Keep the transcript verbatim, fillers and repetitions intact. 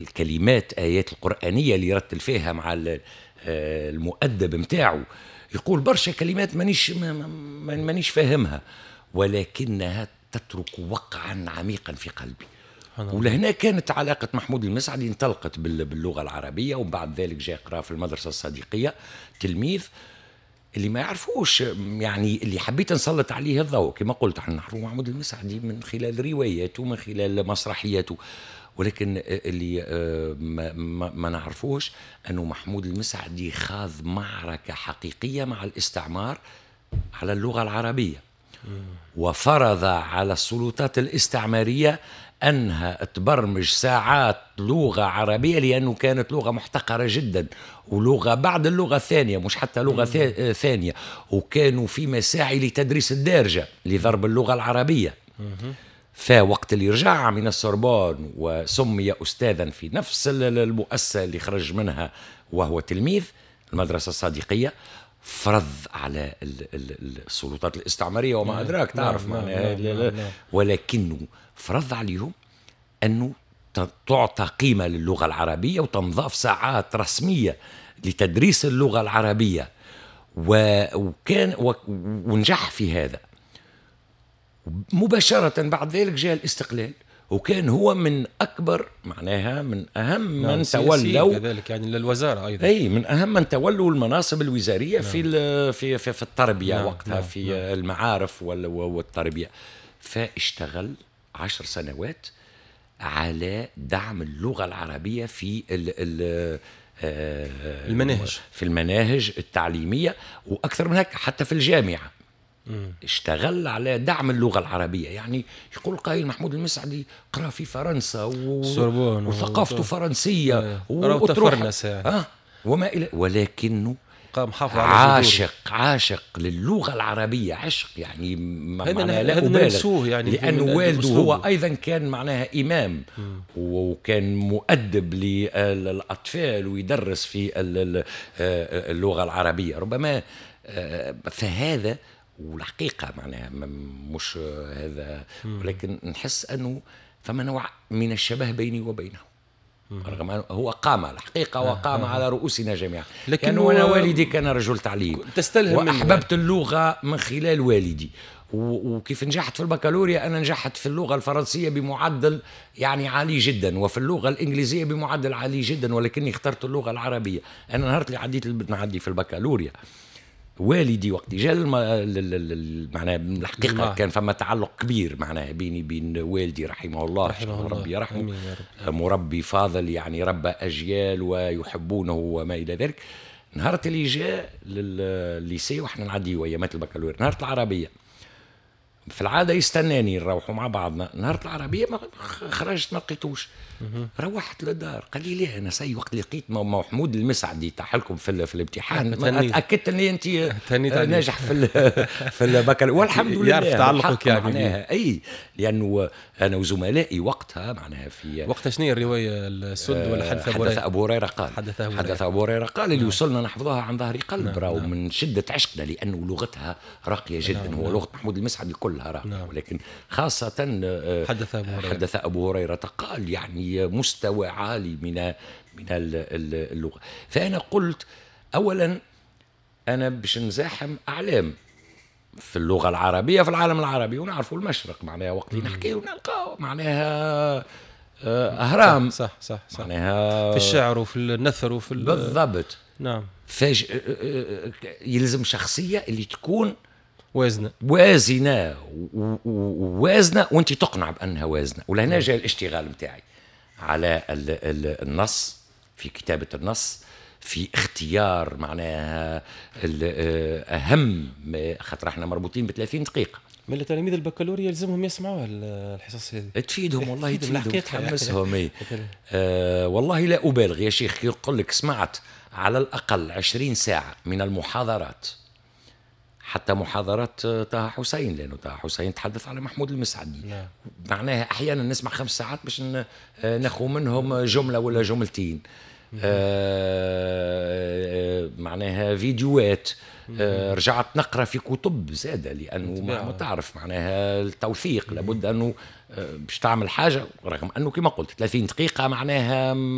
الكلمات، آيات القرآنية اللي يرتل فيها مع آه، المؤدب متاعه، يقول برشا كلمات مانيش مانيش فاهمها، ولكنها تترك وقعا عميقا في قلبي. ولهنا كانت علاقة محمود المسعدي انطلقت باللغة العربية. وبعد ذلك جاء قرأ في المدرسة الصديقية، تلميذ اللي ما يعرفوش، يعني اللي حبيت نسلط عليه الضوء. كما قلت، احنا نعرفوا محمود المسعدي من خلال رواياته، من خلال مسرحياته، ولكن اللي آه، ما, ما, ما نعرفوش انه محمود المسعدي خاض معركة حقيقية مع الاستعمار على اللغة العربية، وفرض على السلطات الاستعمارية انها تبرمج ساعات لغة عربيه، لانه كانت لغة محتقره جدا ولغة بعد اللغة الثانيه، مش حتى لغة ثانيه، وكانوا في مساعي لتدريس الدارجة لضرب اللغة العربيه. فوقت اللي رجع من السوربون وسمي استاذا في نفس المؤسسة اللي خرج منها وهو تلميذ، المدرسة الصادقيه، فرض على السلطات الاستعمارية وما نعم، ادراك، نعم، تعرف نعم معناها نعم نعم. ولكنه فرض عليهم انه تعطى قيمة للغة العربية وتنضاف ساعات رسمية لتدريس اللغة العربيه، وكان ونجح في هذا. مباشرة بعد ذلك جاء الاستقلال، وكان هو من اكبر، معناها من اهم نعم من تولوا كذلك يعني للوزارة ايضا. اي، من اهم من تولوا المناصب الوزارية نعم. في في في, في التربية نعم وقتها نعم في نعم. المعارف والتربيه. فاشتغل عشر سنوات على دعم اللغة العربية في ال ال آه، المناهج. في المناهج التعليميه، واكثر من هيك حتى في الجامعة اشتغل على دعم اللغة العربية. يعني يقول قائل محمود المسعدي قرأ في فرنسا و... وثقافته فرنسية. آه. وتفرنس يعني. آه وما إلى، ولكنه قام حافظ على عاشق عاشق للغة العربية عشق، يعني معناها لا أبالغ يعني، لأنه والده هو أيضا كان معناها إمام وكان مؤدب للأطفال ويدرس في اللغة العربية ربما. آه، فهذا والحقيقة معناها مش هذا، ولكن نحس أنه فما نوع من الشبه بيني وبينه، رغم أنه هو قام الحقيقة وقام على رؤوسنا جميعا، لكن أنا والدي كان رجل تعليم. تستلهم. وأحببت اللغة من خلال والدي، وكيف نجحت في البكالوريا، أنا نجحت في اللغة الفرنسية بمعدل يعني عالي جدا، وفي اللغة الإنجليزية بمعدل عالي جدا، ولكني اخترت اللغة العربية. أنا نهار اللي عديت نعدي في البكالوريا، والدي وقت جاء، معناها الحقيقة كان فما تعلق كبير معناها بيني بين والدي رحمه الله، رحمه الله، ربي يرحمه، مربي فاضل، يعني ربى اجيال ويحبونه وما الى ذلك. نهار اللي جاء لل lycée واحنا نعدي ايامات البكالوريا، نهار العربية في العادة يستناني نروحوا مع بعضنا، نهار العربية ما خرجت ما لقيتوش. روحت للدار، قال لي ليه؟ انا سي وقت لقيت محمود المسعدي طاح لكم في, في الامتحان تاكدت اني انت ناجح في في البكالوريا، والحمد لله. يعرف تعلقك يعني. معناها اي، لانه انا وزملائي وقتها معناها في وقتها شنو هي الروايه؟ السد ولا حدث ابو هريره؟ حدث ابو هريرة قال. حدث ابو هريره، حدث ابو هريرة قال، اللي نعم. وصلنا نحفظها عن ظهر قلب نعم. راهو نعم. من شده عشقنا، لانه لغتها راقية جدا نعم. هو نعم. لغة محمود المسعدي كلها راقيه نعم. ولكن خاصة آه، حدث ابو هريره، حدث ابو هريرة قال، يعني مستوى عالي من من اللغه. فانا قلت اولا انا باش نزاحم اعلام في اللغة العربية في العالم العربي، ونعرفوا المشرق معناها وقت اللي نحكي ونلقاو معناها آه، اهرام. صح صح صح معناها في الشعر وفي النثر وفي بالضبط. نعم فاج آه، آه، يلزم شخصية اللي تكون وازنه. وازنه، ووازنه وانت تقنع بانها وازنه. ولهنا جاء الاشتغال نتاعي على النص، في كتابه النص، في اختيار معناها اهم، خاطر احنا مربوطين ب ثلاثين دقيقه. من تلاميذ البكالوريا يلزمهم يسمعوها الحصص هذه. تفيدهم والله، تفيدهم، تحمسهم. إيه. آه والله لا ابالغ يا شيخ، يقول لك سمعت على الاقل عشرين ساعة من المحاضرات، حتى محاضرات طه حسين، لانه طه حسين تحدث على محمود المسعدي نعم. معناها احيانا نسمع خمس ساعات باش ناخذ منهم جملة ولا جملتين. آه معناها فيديوهات، آه رجعت نقرا في كتب زاده، لانه ما تعرف معناها التوثيق لابد انه آه، باش تعمل حاجه، رغم انه كما قلت ثلاثين دقيقة معناها.